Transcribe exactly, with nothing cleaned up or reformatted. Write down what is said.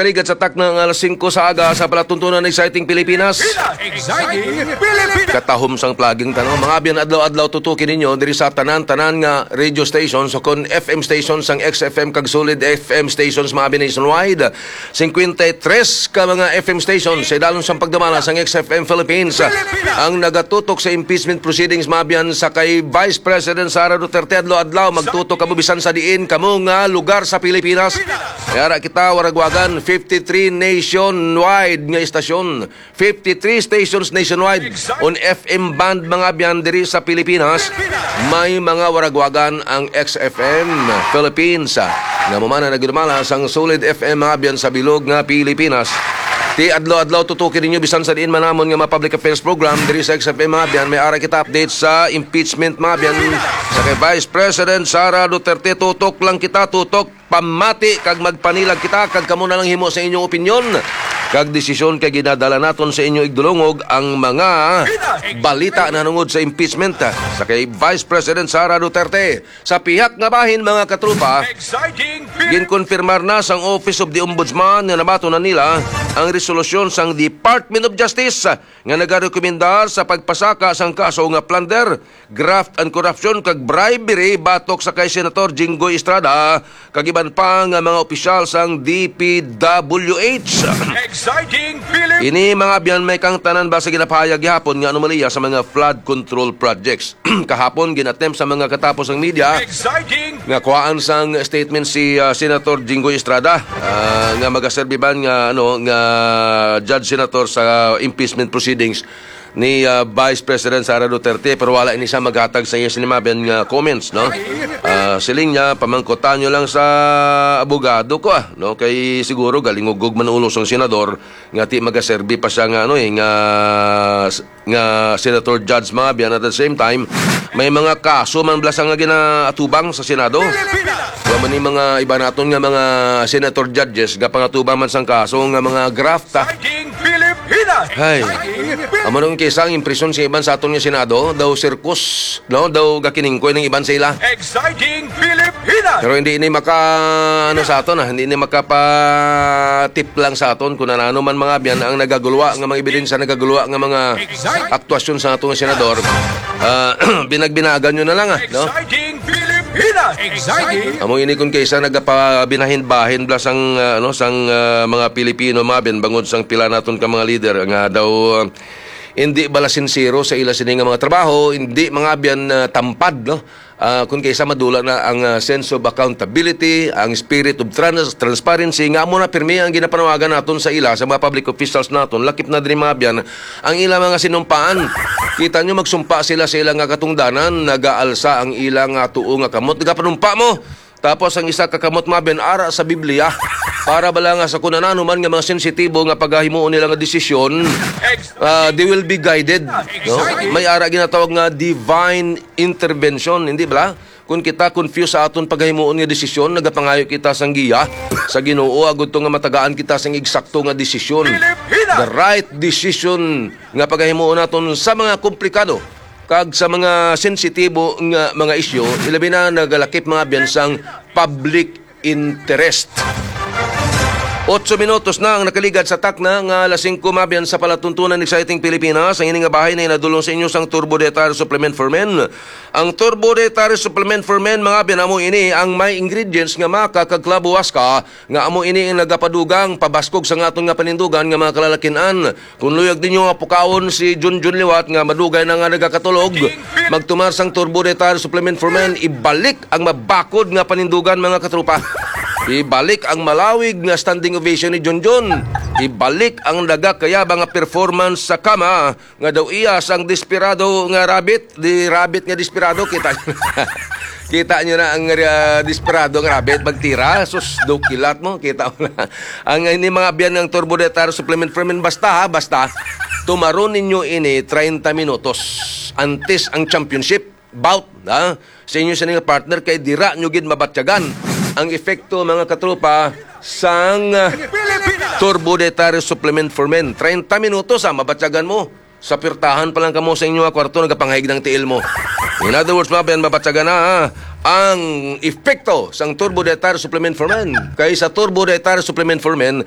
Kaligad sa takna nga alas singko sa aga sa palatuntunan, Exciting Pilipinas. Exciting Pilipinas. Katahom sang plaging tanaw. Mga abyan, adlaw-adlaw tutuki ninyo diri sa tanan-tanan nga radio stations o kon F M stations sang X F M kag Solid F M stations, mga abyan, nationwide. Singkwenta y tres ka mga F M stations sa idalom sang pagdumala sang X F M Philippines. Ang nagatutok sa impeachment proceedings, mga abyan, sa kay Vice President Sara Duterte, adlaw-adlaw magtutok kamo bisan sa diin kamo nga lugar sa Pilipinas. May ara kita, waragwagan, fifty-three nationwide nga istasyon. Fifty-three stations nationwide. On F M band, mga abyan, diri sa Pilipinas, may mga waragwagan ang X F M Philippines, ah, nga mamana nagdumala sang Solid F M, mga abyan, sa bilog nga Pilipinas. Ti adlaw-adlaw tutuki ninyo bisan sa diin man namon nga mga public affairs program diri sa X F M, mga abyan. May ara kita update sa impeachment, mga abyan, sa kay Vice President Sara Duterte. Tutok lang kita, tutok. Pamati kag magpanilag kita, kag kamo na lang himo sa inyong opinyon kag desisyon, kay ginadala naton sa inyo igdulungog ang mga balita nanungod sa impeachment sa kay Vice President Sara Duterte. Sa pihak nga bahin, mga katropa, Exciting Pil- ginkonfirmar na sang Office of the Ombudsman nga nabaton na nila ang resolusyon sang Department of Justice nga nagarekomendar sa pagpasaka sang kaso nga plunder, graft and corruption kag bribery batok sa kay Senator Jinggoy Estrada kag iban pa nga mga opisyal sang D P W H. Exciting Philip. Ini, mga abyan, may kang tanan ba sa ginapahayag gihapon nga anomalya sa mga flood control projects. Kahapon, gin-attempt sa mga katapos ang media Exciting. Nga kuhaan sang statement si, ah, Senator Jinggoy Estrada, ah, nga magaserbi man nga, ano, nga judge senator sa impeachment proceedings ni, ah, Vice President Sara Duterte, pero wala ini siya maghatag sa iya sini, mga abyan, nga comments, no? Ah, siling niya, pamangkutan nyo lang sa abogado ko, ah, no? Kay siguro galingugog man ulo sang senador nga ti magaserbi pa siya nga, ano, eh, nga, nga senator judge, mga abyan. At the same time, may mga kaso man bala sa nga ginaatubang sa Senado. Wa man ni mga iba naton nga mga senator judges gapangatubang man sang kaso nga mga graft, ah. Exciting Pilipinas. Hay. Amo nung kisa ang impresyon sa iban sa aton nga Senado, daw sirkus, no? Daw gakiningkoy ng iban sa ila. Exciting Pilipinas. Pero hindi ini maka, ano, sa aton, ah, hindi ini makapatip lang sa aton kung ano man, mga abyan, ang nagagulwa nga mga ebidensya, nagagulwa nga mga Exciting. Aktuasyon sa aton nga senador. Ah, binagbinagan nyo na lang, ah, no? Exciting Pilipinas. Exciting. Amo ini kung kaysa nagapabinahin-bahin bala sang, ah, ano, sang, ah, mga Pilipino, mga abyan, bangod sang pila naton ka mga leader nga daw, ah, hindi bala sincero sa ila sini nga mga trabaho, hindi, mga abyan, ah, tampad, no? Ah, kung kaysa madula na ang, ah, sense of accountability, ang spirit of trans-, transparency, nga amo na pirmi ang ginapanawagan naton sa ila, sa mga public officials naton, lakip na diri, mga abyan, ang ila mga sinumpaan. Kita nyo, magsumpa sila sa ila nga katungdanan, nagaalsa ang ila nga tuo nga kamot, nagapanumpa mo. Tapos ang isa ka kamot, mga abyan, ara sa Biblia, para bala nga sa kung ano man nga mga sensitibo nga pagahimuon nila nga desisyon, ah, they will be guided, no? May ara ginatawag nga divine intervention, hindi bala? Kung kita confused sa aton pagahimuon nga desisyon, nagapangayo kita sang giya sa Ginoo, agud to nga matagaan kita sang eksakto nga desisyon, the right decision nga pagahimuon naton sa mga komplikado kag sa mga sensitibo nga mga isyu, ilabi na nagalakip, mga abyan, sang public interest. Otso minutos na ang nakaligad sa takna nga alas singko, mga abyan, sa palatuntunan. Exciting Pilipinas. Ang ini nga bahin ay nadulong sa inyo sang Turbo Dietary Supplement for Men. Ang Turbo Dietary Supplement for Men, mga abyan, amo ini ang may ingredients nga maca kag clavo huasca, nga amo ini ang nagapadugang pabaskog sa aton nga panindugan nga mga kalalakin-an. Kung luyag ninyo nga pukawon si Junjun liwat nga madugay na nga nagakatulog, magtumar sang Turbo Dietary Supplement for Men, ibalik ang mabakod nga panindugan, mga katropa. Ibalik ang malawig nga standing ovation ni Junjun. Ibalik ang nagakayaba nga performance sa kama nga daw iya sang desperado nga rabbit, di rabbit nga desperado, kita. Kita nyo na ang, ah, desperado nga rabbit magtira. Sus, daw kilat mo, kita mo na. Ang ini, mga abyan, ng Turbo Dietary Supplement for Men, basta ha, basta tumaron ninyo ini treinta minutos antes ang championship bout, ha? Sa inyo sa nga partner, kay dira nyo gid mabatyagan ang epekto, mga katropa, sang, ah, Turbo Dietary Supplement for Men. Treinta minutos, ha, mabatyagan mo. Sa pirtahan pa lang kamo sa inyo nga kwarto, nagapangahig ng tiil mo. In other words, mga abyan, mabatyagan na, ha, ang epekto sang Turbo Dietary Supplement for Men. Kay sa Turbo Dietary Supplement for Men,